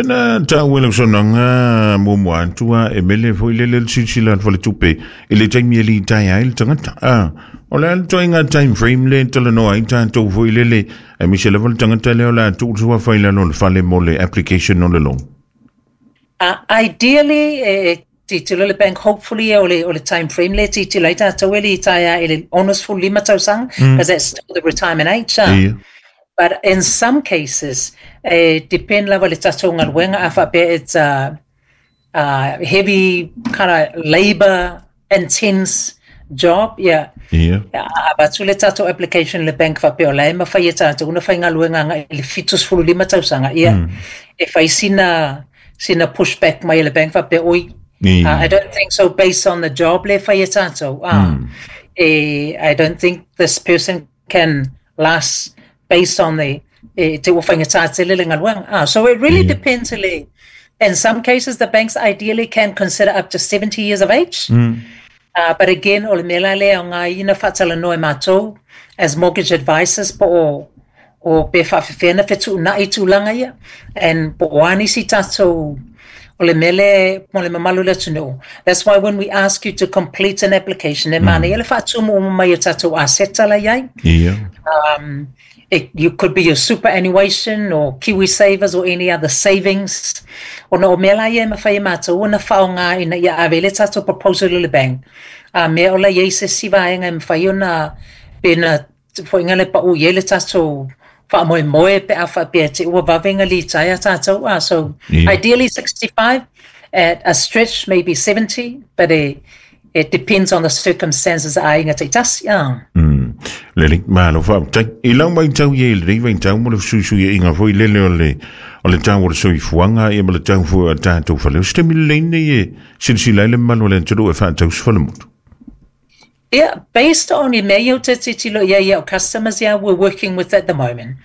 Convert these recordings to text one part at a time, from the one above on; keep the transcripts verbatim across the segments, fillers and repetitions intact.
Na tau e lau saunoaga muamua atu a e mele foi lele le silasila atu faletupe i le taimi e litaea ai le tagata. A o le a le ituaiga time frame lea e talanoa ai tatou foi lele aemaise lava le tagata lea o le a tuu le suafa i lalo o le fale mo le application o le loan. Uh, ideally, e tilotilo le bank, hopefully o le, o le time frame le tilotilo ai tatou e litaea i le onosefulu lima tausaga, because that's still the retirement age. Uh. Ia. But in some cases, e depend lava le tatou galuega a faapea it's a, a heavy kind of labor intense job, yeah. Ia. A avatu le tatou application le bank faapea o la e mafai e tatou ona faigaluega agai i le fitusefulu lima tausaga, ia, e fai sina sina pushback mai e le bank faapea oi, Ia. uh, I don't think so based on the job le fai e tatou. Uh, e, I don't think this person can last based on the e, te ua faigata tele le galuega. Ah, so it really Yeah. depends le. In some cases, the banks ideally can consider up to seventy years of age. Uh, but again, o le mea la lea o ngā ina whaatalanoa e mātou as mortgage advisors po o, o pe whaafewhena fetuunai tūlanga ia. And po o ani si tātou o le mele mo le mamalu le atunuu. That's why when we ask you to complete an application, e mana ia le whaatumu o mai o tātou aseta la iai. Ia. Um, it, you could be your superannuation or Kiwi Savers or any other savings. O na o mea la ia e mawhai e mātou, o na whaonga ina ia ave le tātou proposal i le bank. A mea o la iai se si vaenga e mawhai o na pe na whainga le pau ia le tātou wha moe pe a whapea te ua vavenga li taia tātou. Ah, so Yeah. ideally sixty-five, at a stretch maybe seventy, but it, it depends on the circumstances a inga te tasi. Ah. Mm. Lelei, malo faafetai. I lau matau ia i lenei vaitau mo le fesuisuiaiga foi lele o le o le tau o le soifuaga ia ma le tau foi o tatou fale. O se taimi lelei lenei e silasila ai le mamalu o le atunuu e faatausi falemotu. Yeah, based on i mea iau te titilo ia ia o customers ia we're working with at the moment.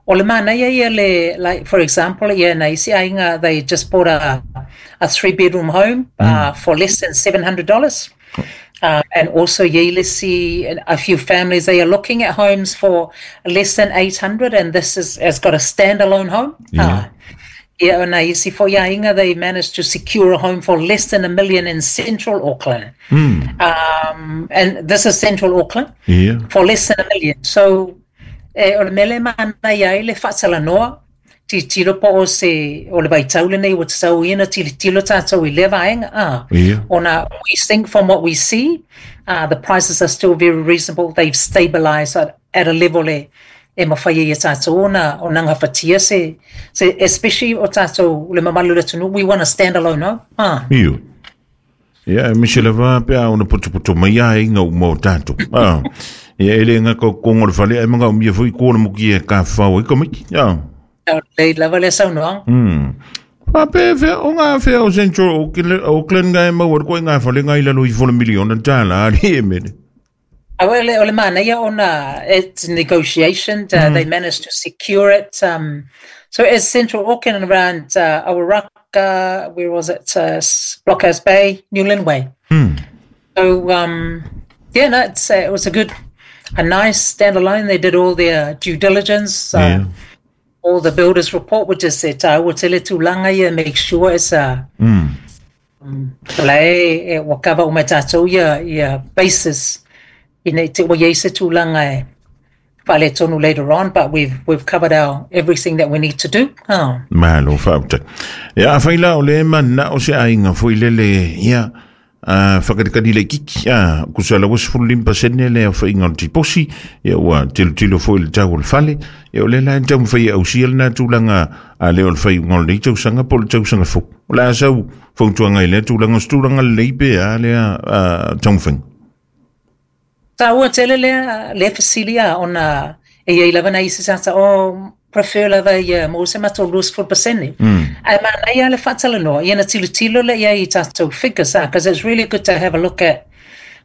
O le mana ia ia le, like for example, ia na isi ainga, they just bought a, a three bedroom home uh, for less than seven hundred dollars. Uh, and also ia le si a few families, they are looking at homes for less than eight hundred, and this is, has got a standalone home. Yeah. Uh, ia na isi fo ia inga, they managed to secure a home for less than a million in central Auckland. Um, and this is central Auckland Ia. for less than a million. So, eh, o le mele mana ia i le whaatalanoa, ti tiro po o se, o le vaitau lenei o te sau ina, ti tilo tātou i le vaenga. Ah. Ia. Ona, we think from what we see, uh, the prices are still very reasonable. They've stabilized at, at a level e, e mawhai ia tātou ona, o nanga whatia se, se, especially o tātou le mamalu le tunu, we want to stand alone, no? Ah. Io. Ia, e mise lava pe a ona potopoto mai a inga uma o tātou. Ah. Ia, e le ngā kongo le fale, e manga o mia foi kōna muki e ka whao e kamiki. Ah. Le lava le saunoaga. Hmm. Fa pe fea o ngā fea o Central Auckland, Auckland ngai maua koe ngā fale ngai lalo i fo le miliona tāla ari e mele. Ah, well, o le mana ia ona, it's negotiation. Uh, They managed to secure it. Um, so it's Central Auckland around uh, Awaraka, where was it? Uh, Blockhouse Bay, Newland Way. So, um, yeah, no, it's, uh, it was a good, a nice standalone. They did all their due diligence. Uh, Yeah. All the builders report, which is it, uh, tele tūlanga ia, make sure it's a, Mm. la e, e wakava o mai tātou ia, ia basis ina i te ua iai se tūlanga e whale tonu later on, but we've, we've covered our everything that we need to do. Oh. Malo faafetai. Ia, a whai la o le mana o se ainga foi lele, ia, uh, whakatikati le kiki, a, kusa la was fulu limpa sene le o whainga o tiposi, ia ua tilo tilo foi le tau o le fale, ia o le la tau mwhai au sia le nā tūlanga a le o le whai ngol nei tausanga po le tausanga fo. O la asau fautuanga i le tūlanga o tūlanga le leipe a le a taumawhai. Tā ua tele lea, lea fasilia ona e iai lava na isi sata o prefer lava ia mo se mato luas fulu pasene. Mm. Ai mana ia le whaatalanoa, ia na tilo tilo le ia i tātou figures, ah, because it's really good to have a look at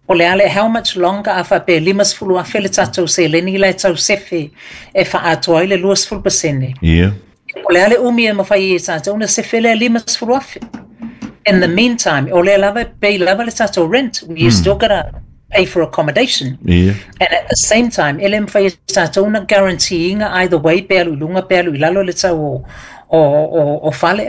o le ale how much longer a whape limas fulu a fele tātou se leni le tau sefe e whaatoa i le luas fulu pasene. Ia. O le ale umi e mawhai i tātou na sefe le limas fulu afe. In the meantime, o le lava pay lava le tātou rent, you still gotta pay for accommodation. Ia. And at the same time, ele mwhai tātou na guaranteeing either way, pe alu lunga, pe alu i lalo le tau o, o, o, o fale.